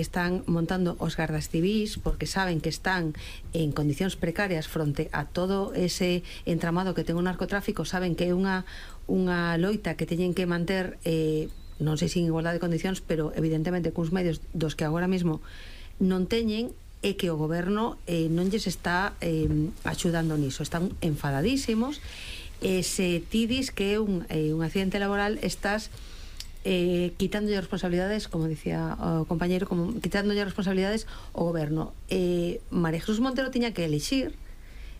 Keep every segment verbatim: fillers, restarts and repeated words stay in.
están montando os gardas civís porque saben que están en condicións precarias fronte a todo ese entramado que ten o narcotráfico, saben que é unha, unha loita que teñen que manter, eh, non sei se en igualdade de condicións, pero evidentemente cuns medios dos que agora mesmo non teñen, e que o goberno eh, non lles está eh, axudando niso, están enfadadísimos, e se ti dis que é un, eh, un accidente laboral, estás Eh, quitándolle responsabilidades, como dicía o compañeiro, como quitándolle responsabilidades ao goberno. eh, María Jesús Montero tiña que elixir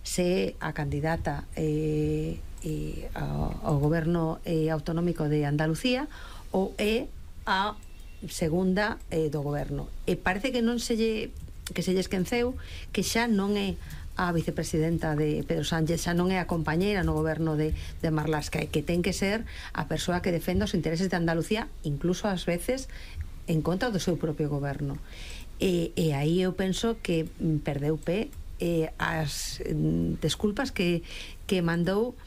se a candidata eh, eh, ao, ao goberno eh, autonómico de Andalucía ou é a segunda eh, do goberno, e parece que non se lle que se lle esquenceu que xa non é a vicepresidenta de Pedro Sánchez, xa non é a compañeira no goberno de, de Marlaska, e que ten que ser a persoa que defenda os intereses de Andalucía, incluso ás veces en contra do seu propio goberno. E, e aí eu penso que perdeu pé eh, as mm, desculpas que, que mandou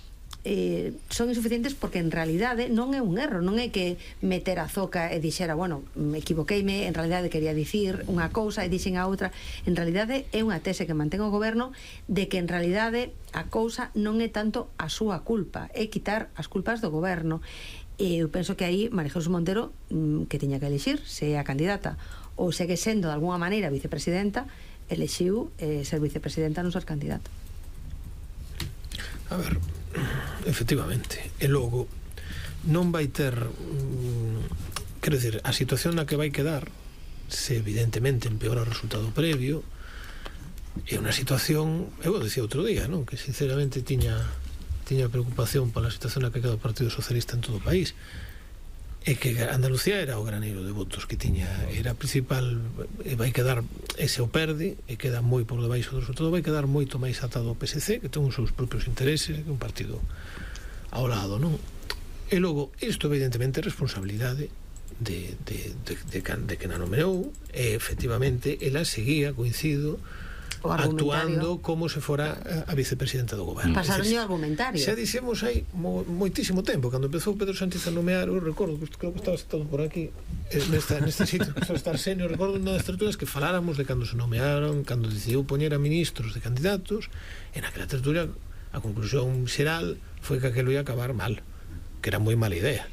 eh, son insuficientes, porque en realidade non é un erro, non é que meter a zoca e dixera, bueno, me equivoqueime, en realidade quería dicir unha cousa e dixen a outra. En realidade é unha tese que mantén o goberno de que en realidade a cousa non é tanto a súa culpa, é quitar as culpas do goberno. E eu penso que aí María Jesús Montero, que tiña que elixir se é a candidata ou segue sendo de alguna maneira vicepresidenta, elixiu eh, ser vicepresidenta, non ser candidata. A ver, efectivamente, e logo non vai ter mm, quero dicir, a situación na que vai quedar, se evidentemente empeora o resultado previo, é unha situación, eu dicía outro día, non? Que sinceramente tiña tiña preocupación pola situación na que queda o Partido Socialista en todo o país, e que Andalucía era o graneiro de votos que tiña, era a principal, e vai quedar, ese o perde e queda moi por debaixo do resultado, vai quedar moito máis atado ao P S C, que ten os seus propios intereses, que é un partido ao lado, non? E logo, isto evidentemente é responsabilidade de, de, de, de, de que na nomeou, e efectivamente ela seguía, coincido, actuando como se fora a vicepresidenta do goberno. Pasaron o argumentario. Xa dixemos hai mo, moitísimo tempo, cando empezou Pedro Sánchez a nomear, eu recordo, creo que estaba sentado por aquí nesta, neste sitio, que estaba estar senio, recordo unha das tertulias que faláramos de cando se nomearon, cando decidiu poñer a ministros de candidatos, en aquela tertulia a conclusión xeral foi que aquilo ia acabar mal, que era moi mala idea,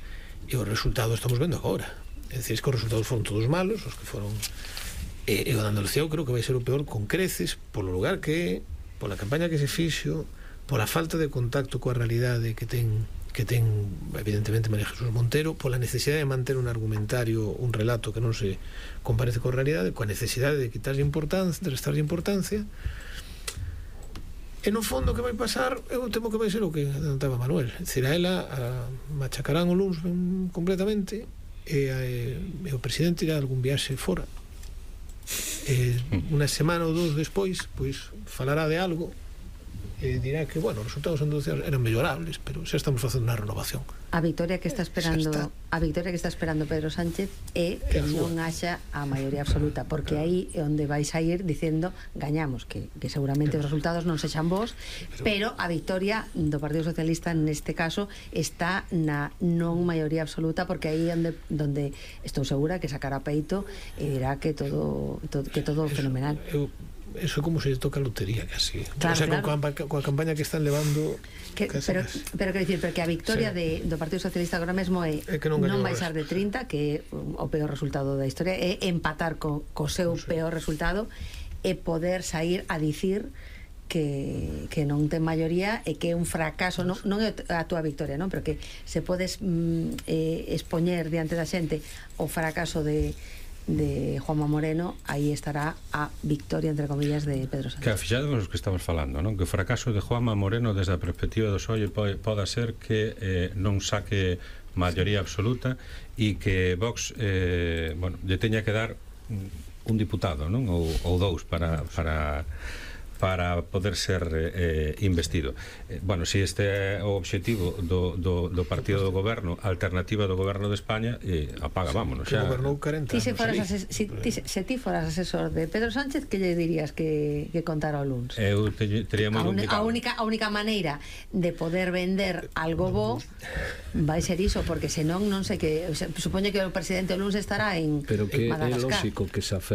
e o resultado estamos vendo agora. É dicir, que os resultados foron todos malos, os que foron. E, e o de Andalucía eu creo que vai ser o peor, con creces, polo lugar que é, pola campaña que se fixo, pola falta de contacto coa realidade que ten que ten evidentemente María Jesús Montero, pola necesidade de manter un argumentario, un relato que non se comparece coa realidade, coa necesidade de quitarlle importancia, de restarlle importancia. E no fondo que vai pasar, eu temo que vai ser o que adelantaba Manuel, é dicir, a ela a, machacarán o luns completamente, e, a, e o presidente irá a algún viaxe fora, eh, unha semana ou dous despois pois falará de algo e dirá que, bueno, os resultados andalucianos eran mellorables, pero xa estamos facendo unha renovación. A victoria que está esperando está. a victoria que está esperando Pedro Sánchez é que non haxa a maioría absoluta, porque aí é onde vais a ir dicendo gañamos, que, que seguramente os resultados non sexan bons, pero, pero a victoria do Partido Socialista neste caso está na non maioría absoluta, porque aí onde donde estou segura que sacará peito e dirá que todo, todo que todo eso, fenomenal. Eu eso é como se toca a lotería casi, claro, o sea, claro. Coa, coa campaña que están levando que, pero, pero quero dicir, porque a victoria sí. de, do Partido Socialista agora mesmo é, é que non, non baixar de trinta, que é o peor resultado da historia, é empatar co, co seu sí. peor resultado, e poder sair a dicir que, que non ten maioría e que é un fracaso, non, non é a túa victoria, non? Pero que se podes mm, eh, expoñer diante da xente o fracaso de de Juanma Moreno, aí estará a victoria, entre comillas, de Pedro Sánchez. Que fixades os que estamos falando, non? Que o fracaso de Juanma Moreno desde a perspectiva do P S O E poda ser que eh, non saque maioría absoluta e que Vox eh, bueno, lle teña que dar un diputado, non? Ou, ou dous para para para poder ser eh, investido. Eh, bueno, se si este é o objetivo do, do, do partido do goberno, alternativa do goberno de España, eh, apaga, vámonos xa. Ti se, foras ases, si, ti, se ti foras asesor de Pedro Sánchez, que lle dirías que, que contara o luns? Eu te, tería moi complicado. A única, a única maneira de poder vender algo bo vai ser iso, porque senón non sei que, supoño que o presidente o luns estará en pero que Madagascar. É lógico que se